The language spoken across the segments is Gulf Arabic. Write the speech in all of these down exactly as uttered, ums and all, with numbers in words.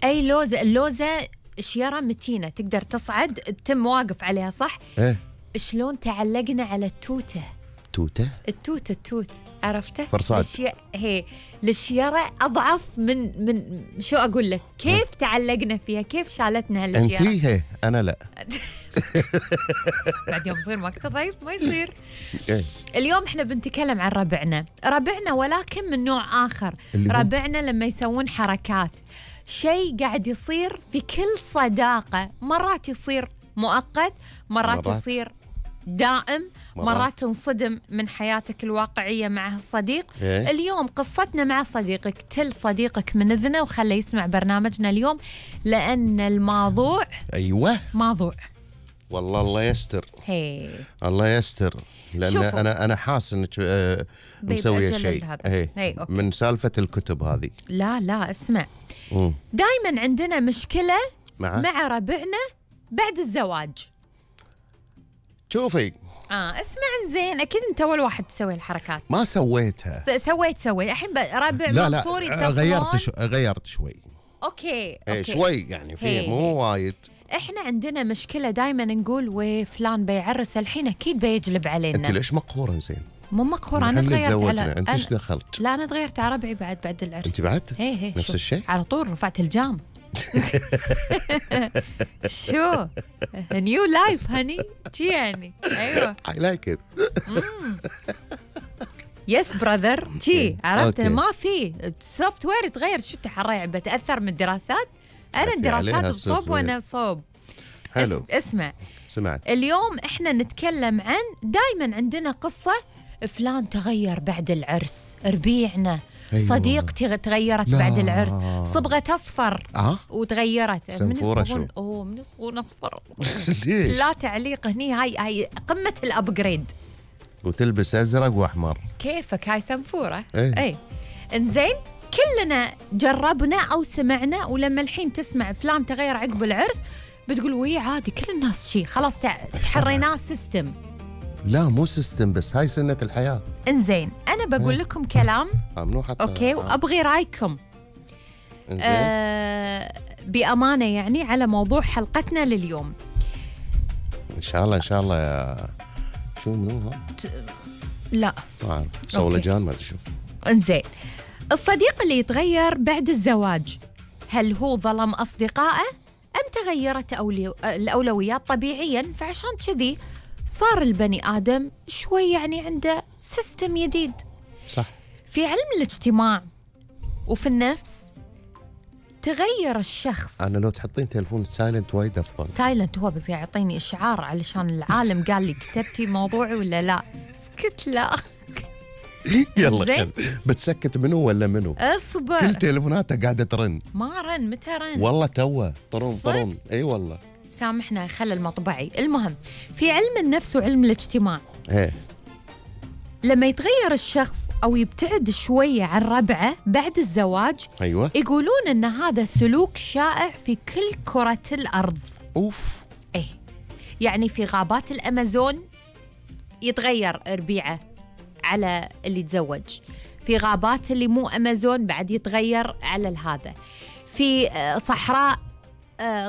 اي لوزه، اللوزه شيره متينه تقدر تصعد تم واقف عليها صح؟ ايه شلون تعلقنا على التوته؟ توته؟ التوت التوت عرفته؟ فرصاد. الشي... هي الشيره اضعف من من شو اقول لك؟ كيف تعلقنا فيها؟ كيف شالتنا هالشيره؟ انتي هي انا لا. بعد يوم صير وقت ضيف ما يصير. إيه؟ اليوم احنا بنتكلم عن ربعنا، ربعنا ولكن من نوع آخر. ربعنا لما يسوون حركات، شيء قاعد يصير في كل صداقة، مرات يصير مؤقت، مرات, مرات. يصير دائم، مرات. مرات تنصدم من حياتك الواقعية مع الصديق. إيه؟ اليوم قصتنا مع صديقك، تل صديقك من إذنه وخليه يسمع برنامجنا اليوم، لأن الموضوع أيوة موضوع والله الله يستر. هي. الله يستر، لأن شوفوا. أنا أنا حاس إنك آه مسوية شيء من سالفة الكتب هذه. لا لا اسمع، دائما عندنا مشكلة مع, مع ربعنا بعد الزواج. شوفي اه اسمع زين، اكيد انت اول واحد تسوي الحركات. ما سويتها. سويت سويت الحين ربع لا منصوري. لا غيرت شو... غيرت شوي. اوكي اوكي شوي يعني فيه مو وايد. احنا عندنا مشكلة دائما نقول وفلان بيعرس الحين اكيد بيجلب علينا. انت ليش مقهورة زين؟ مو مقهورة، انا تغيرت على انت ايش دخلت؟ لا انا تغيرت على ربعي بعد بعد العرس. انت بعد؟ هي هي نفس الشيء؟ على طول رفعت الجام. شو نيو لايف هني شي يعني. ايوه I like it. يس براذر شي عرفت. ما في السوفت وير يتغير. شو تحرى بتاثر من الدراسات؟ انا الدراسات صوب وانا صوب. حلو. اسمع سمعت. اليوم احنا نتكلم عن دائما عندنا قصة فلان تغير بعد العرس، ربيعنا. أيوة. صديقتي تغيرت لا. بعد العرس، صبغت اصفر أه؟ وتغيرت. من يصبغون اوه من يصبغون اصفر. لا تعليق هني، هاي هاي قمة الابجريد. وتلبس ازرق واحمر. كيفك هاي سنفورة. اي, أي. انزين كلنا جربنا او سمعنا، ولما الحين تسمع فلان تغير عقب العرس بتقول وي عادي كل الناس شي خلاص تحريناه سيستم. لا مو سيستم، بس هاي سنة الحياة. انزين انا بقول اه. لكم كلام ممنوع حتى. اوكي وابغي رايكم آه بأمانة يعني على موضوع حلقتنا لليوم. ان شاء الله ان شاء الله يا شو منو ها؟ ت... لا ما اعرف صولجان ما ادري شو. انزين الصديق اللي يتغير بعد الزواج، هل هو ظلم أصدقائه أم تغيرت أولي... الأولويات طبيعياً؟ فعشان كذي صار البني آدم شوي يعني عنده سيستم جديد. صح. في علم الاجتماع وفي النفس تغير الشخص. أنا لو تحطين تلفون سايلنت وايد أفضل. سايلنت هو بس يعطيني إشعار علشان العالم قال لي كتبتي موضوعي ولا لا. اسكت لا. يلا بتسكت منو ولا منو؟ اصبر. كل تليفوناته قاعده ترن. ما رن، متى رن؟ والله توه طرن طرن. اي والله سامحنا خلى المطبعي. المهم في علم النفس وعلم الاجتماع ايه لما يتغير الشخص او يبتعد شويه عن ربعه بعد الزواج، ايوه يقولون ان هذا سلوك شائع في كل كره الارض. اوف. ايه يعني في غابات الامازون يتغير ربيعه على اللي تزوج، في غابات اللي مو أمازون بعد يتغير على هذا، في صحراء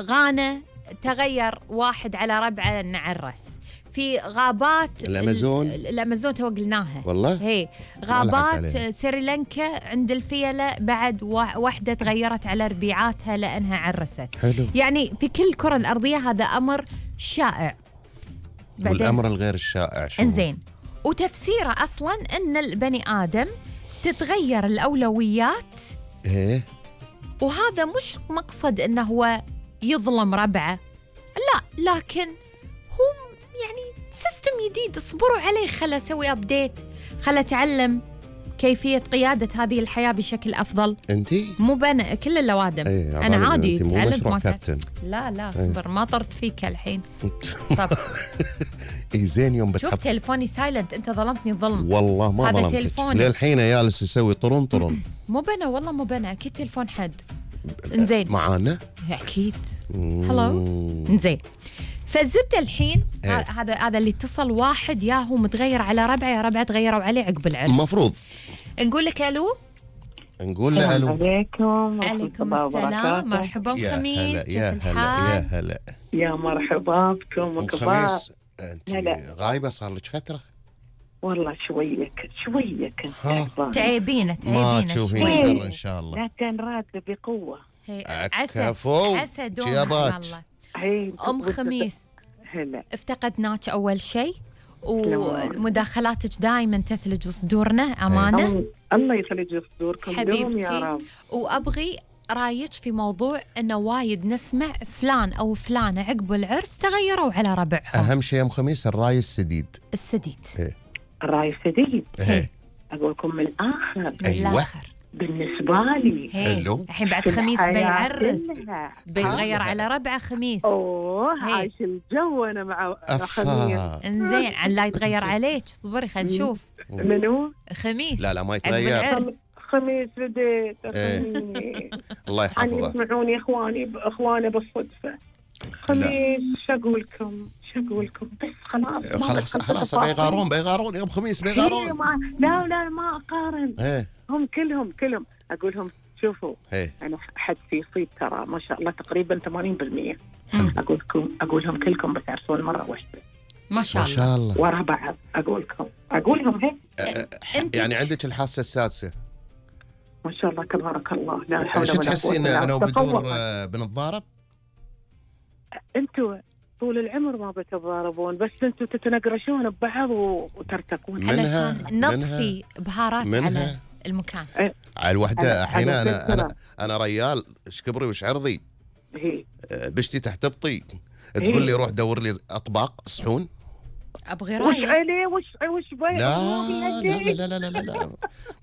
غانا تغير واحد على ربعه نعرس، في غابات الأمازون الأمازون تو قلناها والله هي غابات سريلانكا عند الفيلة بعد واحدة تغيرت على ربيعاتها لأنها عرست. حلو. يعني في كل الكرة الأرضية هذا أمر شائع. والأمر الغير الشائع شو؟ إنزين وتفسيره أصلاً أن البني آدم تتغير الأولويات. إيه. وهذا مش مقصد أنه هو يظلم ربعه، لا، لكن هو يعني سيستم جديد اصبروا عليه، خله أسوي أبديت، خله أتعلم كيفية قيادة هذه الحياة بشكل أفضل. أنتي؟ مو بنا كل اللوادم. ايه أنا عادي تعلمت ما كابتن. لا لا صبر ايه. ما طرت فيك الحين. صبر. اي زين يوم بتحب. شوف تلفوني سايلنت، أنت ظلمتني ظلم. والله ما ظلمتك. هذا تلفوني للحين جالس يسوي طرن طرن. مو بنا والله مو بنا، أكيد تلفون حد. إنزين. معانا؟ أكيد. هلو. إنزين. فالزبدة الحين ايه. هذا هذا اللي اتصل واحد ياهو متغير على ربعه، يا ربعه تغيروا عليه عقب العرس. المفروض نقول لك الو. نقول له الو. عليكم. عليكم السلام، مرحبا ام خميس. يا هلا يا هلا يا مرحبا بكم. ام خميس، انت غايبه صار لك فتره. والله شويه كنت شويه كنت تعبينه تعبينه ما تشوفين شر ان شاء الله. لكن راتب بقوه. عسى عسى دوم الله. ام خميس، هلا افتقدناك اول شيء، ومداخلاتك دائما تثلج صدورنا امانه. الله يثلج صدوركم دوم يا رب. وابغي رايك في موضوع انه وايد نسمع فلان او فلانه عقب العرس تغيروا على ربعهم. اهم شيء يا ام خميس الراي السديد. السديد إيه؟ الراي السديد. إيه؟ اقول لكم من الاخر. من أيوة. الاخر بالنسبه لي حلو. الحين بعد خميس بيعرس، بيتغير على ربعه خميس. اوه عايش الجو انا مع خميس. انزين عن لا يتغير عليك. صبري خلينا نشوف. منو؟ خميس. لا لا ما يتغير. خميس بديت. ايه. الله يحفظه. يسمعوني اخواني اخواني بالصدفه. خميس شو اقول لكم؟ شو اقول لكم؟ بس خلاص خلاص خلاص بيغارون بيغارون يوم خميس بيغارون. لا لا ما اقارن. ايه. هم كلهم كلهم اقول لهم شوفوا ايه. انا حدث يصيب ترى ما شاء الله تقريبا ثمانين بالمئة. اقول لكم اقول لهم كلكم بتعرسون مره واحده. ما شاء الله. ما شاء الله. ورا بعض اقول لكم اقول لهم هيك. أه يعني عندك الحاسه السادسه. ما شاء الله تبارك الله. لا حول ولا قوه. شو تحسين انا وبدور بنتضارب؟ انتوا طول العمر ما بتتضاربون، بس انتوا تتنقرشون ببعض وترتكون. علشان نضفي بهارات على المكان. أه. على الوحده الحين انا انا انا ريال ايش كبري وش عرضي. هي بشتي تحت ابطي تقول لي روح دور لي اطباق صحون. ابغي رايك. وش عليه وش وش بي لا لا لا لا لا لا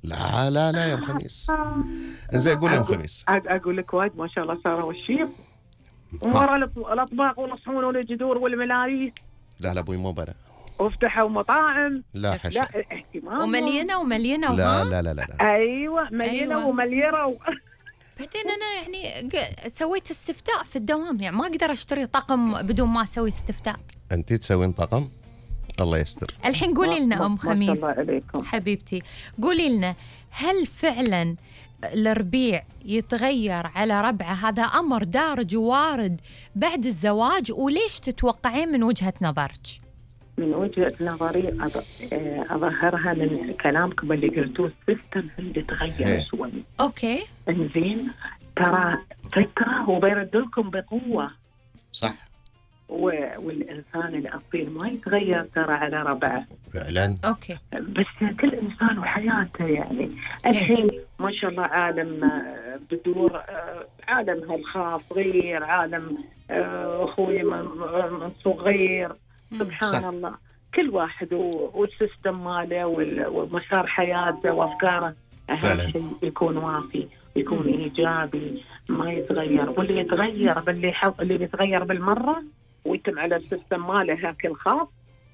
لا لا لا يا ام خميس. زين قول يا ام خميس. اقول لك وايد ما شاء الله صاروا الشيب ورا الاطباق والصحون والجذور والملاريس. لا لا ابوي مو بنا. وافتحوا مطاعم. لا حشا. لا اهتمام. ومليانه ومليانه. لا لا لا لا. ايوه مليانه أيوة. ومليره و... بعدين انا يعني سويت استفتاء في الدوام، يعني ما اقدر اشتري طقم بدون ما اسوي استفتاء. انت تسوين طقم؟ الله يستر. الحين قولي لنا ام خميس عليكم. حبيبتي، قولي لنا هل فعلا الربيع يتغير على ربعه؟ هذا امر دارج ووارد بعد الزواج، وليش تتوقعين من وجهة نظرك؟ من وجهة نظري اظهرها من كلامكم اللي قلتوه. السيستم اللي تغير شوي. اوكي انزين ترى فكره وبيرد لكم بقوه. صح. والإنسان الأصيل ما يتغير ترى على ربعه فعلا. أوكي. بس كل إنسان وحياته يعني. الحين ما شاء الله عالم بدور، عالم هالخاص غير عالم أخوي من صغير. سبحان صح. الله كل واحد والسيستم ماله ومسار حياته وأفكاره. أهم شيء يكون وافي، يكون إيجابي، ما يتغير. واللي يتغير باللي حف... اللي يتغير بالمرة ويتم على السيستم ماله هاك الخاص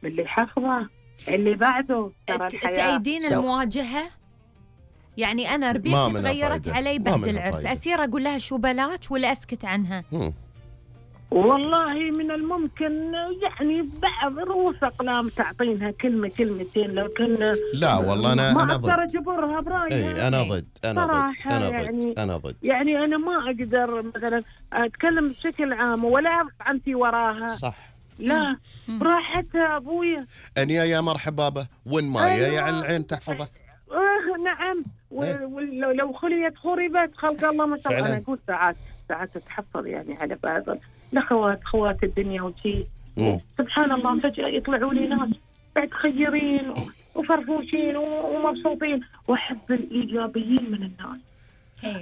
باللي حفظه اللي بعده. ترى الحياة تأيدين المواجهة. يعني أنا ربيعتي تغيرت علي بعد العرس، أسير أقول لها شو بلاش ولا أسكت عنها؟ هم. والله من الممكن يعني بعض رؤوس أقلام تعطينها كلمة كلمتين، لكن لا والله أنا ما أنا ضد. أقدر أجبرها برأيي. أي أنا ضد أنا ضد أنا ضد يعني أنا ضد. يعني أنا ما أقدر مثلا أتكلم بشكل عام ولا أنتي وراها. صح. لا راحتها أبويا. أنيا يا مرحبا بابا وين مايا يا على العين تحفظه. آه نعم. ولو خليت خربت خلق الله ما شاء الله. أنا أقول ساعات ساعات تتحفظ يعني على بعض الأخوات خوات الدنيا وشي. سبحان الله فجأة يطلعوا لي ناس بعد خيرين وفرفوشين ومبسوطين، وأحب الإيجابيين من الناس.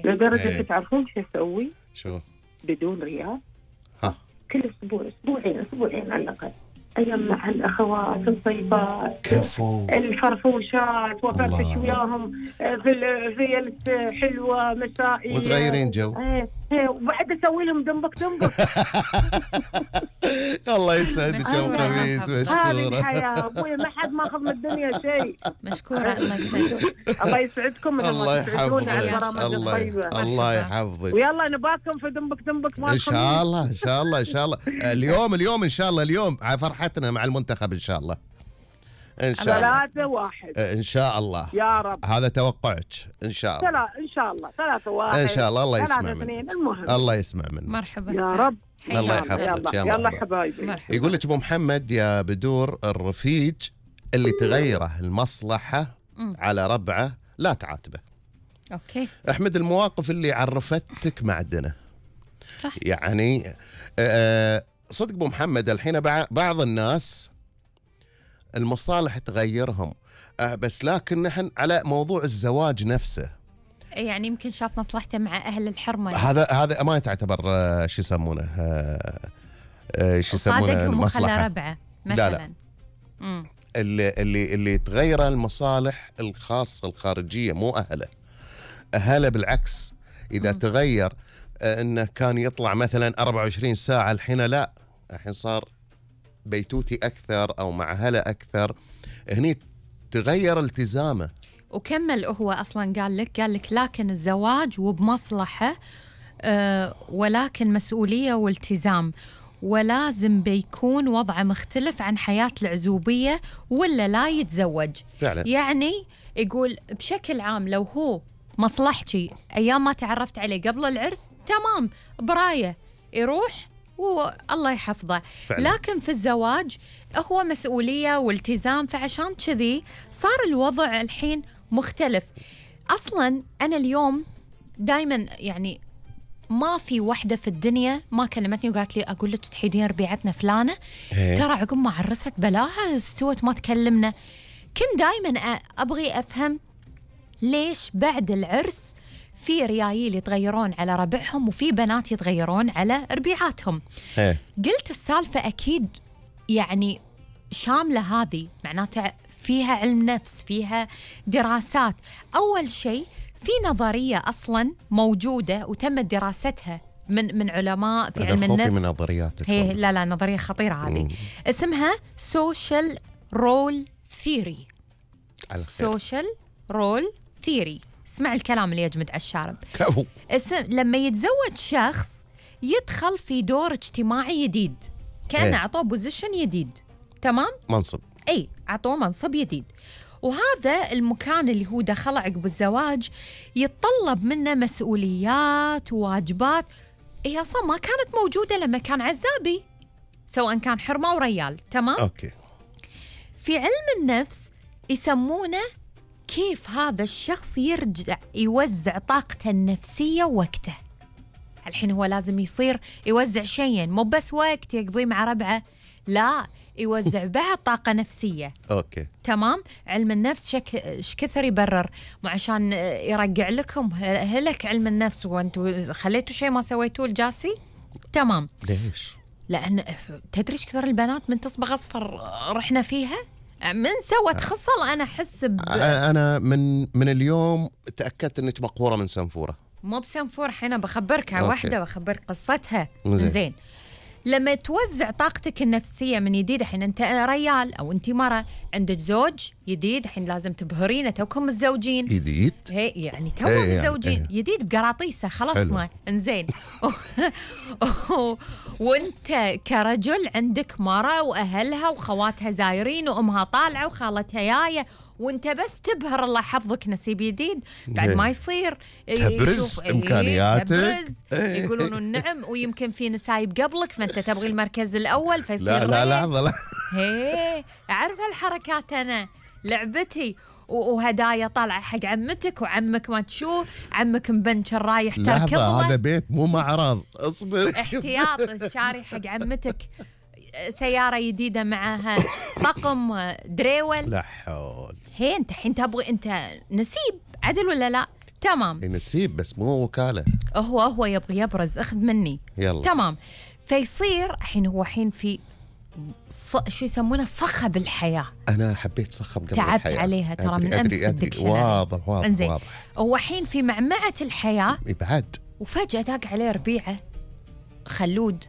لدرجة تعرفون شو أسوي؟ شو؟ بدون رياء. ها. كل أسبوع أسبوعين أسبوعين على الأقل أجمع الأخوات الصيفات كفو الفرفوشات وأفرفش وياهم في في حلوة مسائية وتغيرين جو. ايه ايه وبعد أسوي لهم دنبك دنبك. الله يسعدك يا أم خميس. مشكورة. هذه الحياة أبوي ما حد ماخذ من الدنيا شيء. مشكورة. الله يسعدك. الله يسعدكم. الله يحفظك. الله الله يحفظك. ويلا نباكم في دنبك دنبك إن شاء الله إن شاء الله إن شاء الله. اليوم اليوم إن شاء الله اليوم على فرحتنا مع المنتخب إن شاء الله. ان شاء الله ثلاثة واحد ان شاء الله يا رب. هذا توقعك ان شاء الله. ثلاثة ان شاء الله ثلاثة واحد ان شاء الله. الله يسمع منك. المهم الله يسمع منك. مرحبا يا رب. الله يحفظك. يلا, يلا حبايبي. يقول لك ابو محمد يا بدور الرفيج اللي تغيره المصلحة م. على ربعه لا تعاتبه. اوكي. احمد المواقف اللي عرفتك معدنه. صح. يعني آه صدق ابو محمد الحين بعض الناس المصالح تغيرهم آه بس لكن نحن على موضوع الزواج نفسه يعني يمكن شاف مصلحته مع اهل الحرمه. هذا هذا ما تعتبر آه شو يسمونه آه آه شو يسمونه المصلحه ربعه مثلا. لا لا مم. اللي اللي اللي تغير المصالح الخاصه الخارجيه مو اهله. اهله بالعكس اذا مم. تغير آه انه كان يطلع مثلا أربعة وعشرين ساعه الحين لا، الحين صار بيتوتي اكثر او مع اهله اكثر، هني تغير التزامه. وكمل هو اصلا قال لك قال لك لكن الزواج وبمصلحه آه ولكن مسؤوليه والتزام، ولازم بيكون وضعه مختلف عن حياه العزوبيه ولا لا يتزوج. فعلا. يعني يقول بشكل عام لو هو مصلحتي ايام ما تعرفت عليه قبل العرس تمام برايه يروح والله يحفظه. فعلا. لكن في الزواج هو مسؤوليه والتزام، فعشان كذي صار الوضع الحين مختلف. اصلا انا اليوم دائما يعني ما في وحده في الدنيا ما كلمتني وقالت لي اقول لك تحيدين ربيعتنا فلانه ترى عقب ما عرست بلاها استوت ما تكلمنا. كنت دائما ابغي افهم ليش بعد العرس في ريايل يتغيرون على ربعهم وفي بنات يتغيرون على ربيعاتهم. هي. قلت السالفه اكيد يعني شامله، هذه معناتها فيها علم نفس، فيها دراسات. اول شيء في نظريه اصلا موجوده وتمت دراستها من من علماء في علم النفس. من نظرياتك. هي لا لا نظريه خطيره هذه. اسمها سوشيال رول ثيوري. سوشيال رول ثيوري. اسمع الكلام اللي يجمد على الشارب. اسم لما يتزوج شخص يدخل في دور اجتماعي جديد، كأنه اعطوه بوزيشن جديد. تمام؟ منصب. اي اعطوه منصب جديد، وهذا المكان اللي هو دخله عقب الزواج يتطلب منه مسؤوليات وواجبات هي اصلا ما كانت موجوده لما كان عزابي، سواء كان حرمه وريال. تمام؟ اوكي. في علم النفس يسمونه كيف هذا الشخص يرجع يوزع طاقته النفسيه ووقته. الحين هو لازم يصير يوزع شيئين، مو بس وقت يقضيه مع ربعه، لا يوزع بعد طاقة نفسية. اوكي. تمام. علم النفس شك ايش كثر يبرر مو عشان يرجع لكم هلك علم النفس وانتم خليتوا شيء ما سويتوه الجاسي. تمام. ليش؟ لان تدري ايش كثر البنات من تصبغ اصفر رحنا فيها من سوت خصل. انا احس ب... انا من من اليوم تاكدت انك مقهوره من سنفوره. مو بسنفور، الحين بخبرك عن واحده بخبرك قصتها. زين. لما توزع طاقتك النفسيه من جديد، الحين انت ريال او انت مره عندك زوج جديد، الحين لازم تبهرينه توكم متزوجين جديد. هي يعني توكم متزوجين جديد بقراطيسه خلصنا. انزين. وانت كرجل عندك مره واهلها وخواتها زايرين وامها طالعه وخالتها جايه، وانت بس تبهر الله يحفظك نسيب جديد بعد ما يصير تبرز امكانياتك. تبرز يقولون النعم، ويمكن في نسايب قبلك فانت تبغي المركز الاول فيصير لا لا لحظه لا. هي اعرف هالحركات انا لعبتي. وهدايا طالعه حق عمتك وعمك ما تشوف عمك مبنشر رايح تركض له. هذا بيت مو معرض. اصبر. احتياط شاري حق عمتك سيارة جديدة معها طقم دريول. لا حول. هي انت الحين تبغي انت نسيب عدل ولا لا؟ تمام. نسيب بس مو وكالة. هو هو يبغي يبرز اخذ مني. يلا. تمام. فيصير الحين هو الحين في ص... شو يسمونه صخب الحياة. أنا حبيت صخب قبل تعبت الحياة. عليها ترى من أمس في الدكشنري. واضح واضح انزين. واضح. هو الحين في معمعة الحياة. بعد. وفجأة داق عليه ربيعة خلود.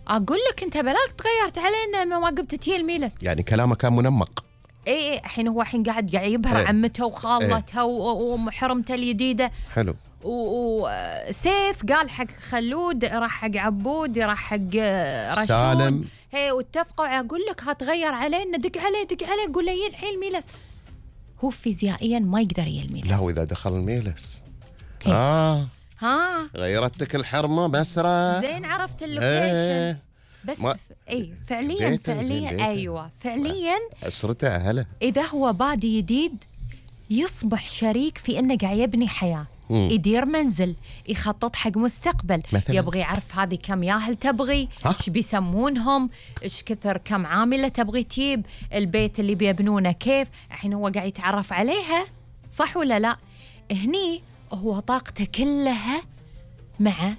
أقول لك أنت بلاك تغيرت علينا ما قبت تيل ميلة. يعني كلامه كان منمق. إيه إيه الحين هو الحين قاعد قاعد يبهر ايه. عمته وخالتها ايه. ومحرمته الجديدة. حلو. وسيف قال حق خلود راح حق عبود راح حق رشود سالم هي واتفقوا أقول لك هتغير علينا، دق عليه دق عليه قول له ينحي الميلس. هو فيزيائيا ما يقدر يلميلس. لا وإذا دخل الميلس آه ها غيرتك الحرمة مسرة زين عرفت اللوكيشن. ايه بس ما- ف... اي فعليا بيته، زين فعليا بيته. ايوه فعليا أسرته أهله. اذا هو بادي جديد يصبح شريك في انه قاعد يبني حياه، مم. يدير منزل، يخطط حق مستقبل، مثلاً؟ يبغى يعرف هذه كم ياهل تبغي، ها؟ ايش بيسمونهم، ايش كثر كم عامله تبغي تجيب، البيت اللي بيبنونه كيف، الحين هو قاعد يتعرف عليها، صح ولا لا؟ هني هو طاقته كلها مع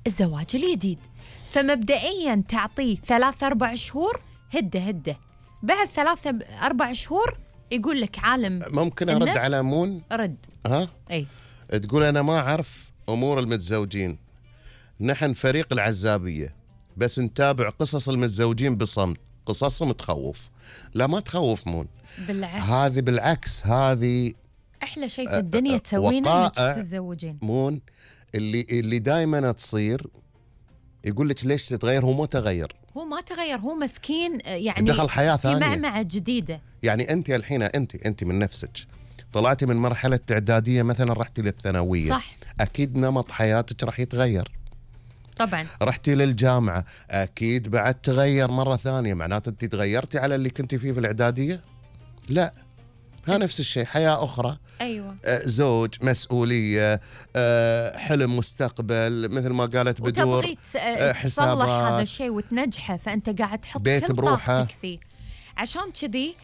الزواج الجديد، فمبدئيا تعطيه ثلاث أربع شهور هده هده، بعد ثلاثة أربع شهور يقول لك عالم ممكن أرد النفس. على مون؟ رد ها أي تقول أنا ما أعرف أمور المتزوجين، نحن فريق العزابية بس نتابع قصص المتزوجين بصمت، قصصهم تخوف. لا ما تخوف مون، بالعكس هذه بالعكس، هذه أحلى شيء في الدنيا تسوينه إنك وقائع. تتزوجين. مون اللي اللي دائما تصير يقول لك ليش تتغير، هو مو تغير، هو ما تغير، هو مسكين يعني دخل حياة في ثانية. معمعة جديدة. يعني أنت الحين أنت أنت من نفسك طلعتي من مرحلة إعدادية مثلا رحتي للثانوية، صح. أكيد نمط حياتك راح يتغير. طبعا رحتي للجامعة أكيد بعد تغير مرة ثانية، معناته أنت تغيرتي على اللي كنتي فيه في الإعدادية؟ لا، ها نفس الشيء، حياة أخرى، أيوة آه، زوج، مسؤولية، آه، حلم مستقبل، مثل ما قالت بدور، وتبغي تس- آه، تصلح حسابات. هذا الشيء وتنجحه، فأنت قاعد تحط بيت كل بروحه. طاقتك فيه. عشان كذي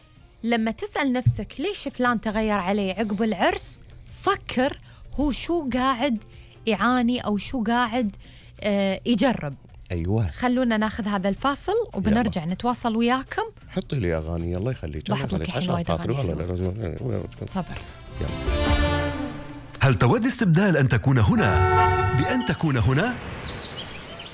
لما تسأل نفسك ليش فلان تغير عليه عقب العرس، فكر هو شو قاعد يعاني أو شو قاعد آه يجرب. أيوة. خلونا ناخذ هذا الفاصل وبنرجع نتواصل وياكم. حطي لي أغاني الله يخليك، الله بحط لك يخليك الحين عشان وايد خاطري أغاني والله. صبر. هل تود استبدال أن تكون هنا بأن تكون هنا؟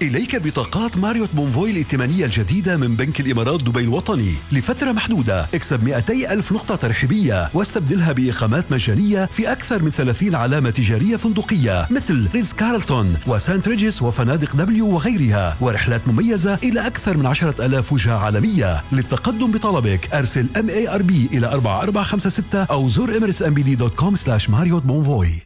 إليك بطاقات ماريوت بونفوي الائتمانية الجديدة من بنك الإمارات دبي الوطني لفترة محدودة. اكسب مئتي ألف نقطة ترحيبية واستبدلها بإقامات مجانية في أكثر من ثلاثين علامة تجارية فندقية مثل ريتز كارلتون وسانت ريجيس وفنادق دبليو وغيرها، ورحلات مميزة إلى أكثر من عشرة ألاف وجهة عالمية. للتقدم بطلبك أرسل إم إيه آر بي إلى أربعة أربعة خمسة ستة أو زور إميريتس إم بي دي دوت كوم سلاش ماريوت بونفوي.